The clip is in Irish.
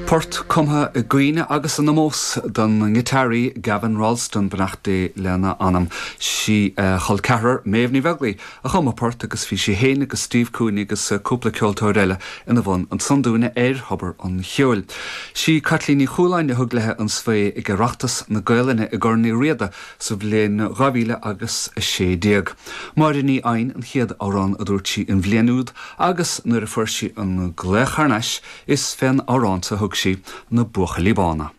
Port cumtha i gcuimhne agus in omós don ngiotáraí Gavin Rolleston, beannacht Dé lena anam. Sí a chol ceathrar, Méabh Ní Bheaglaoi, a chum an port agus bhí sí féin agus Steve Cooney agus cúpla ceoltóir eile ina bhun ansan dúinne ar Thobar an Cheoil. Sí Caitlín Ní Chualáin a thug léi an svae ag Oireachtas na Gaelainne i gCorn Uí Riada sa bhliain 2000 agus 16. Máire Ní Eidhin an chéad amhrán a dúirt sí an bhliain úd agus nuair a fuair sí an glaoch thar n-ais is fén amhrán so a thug sí Na Buachaillí Bána.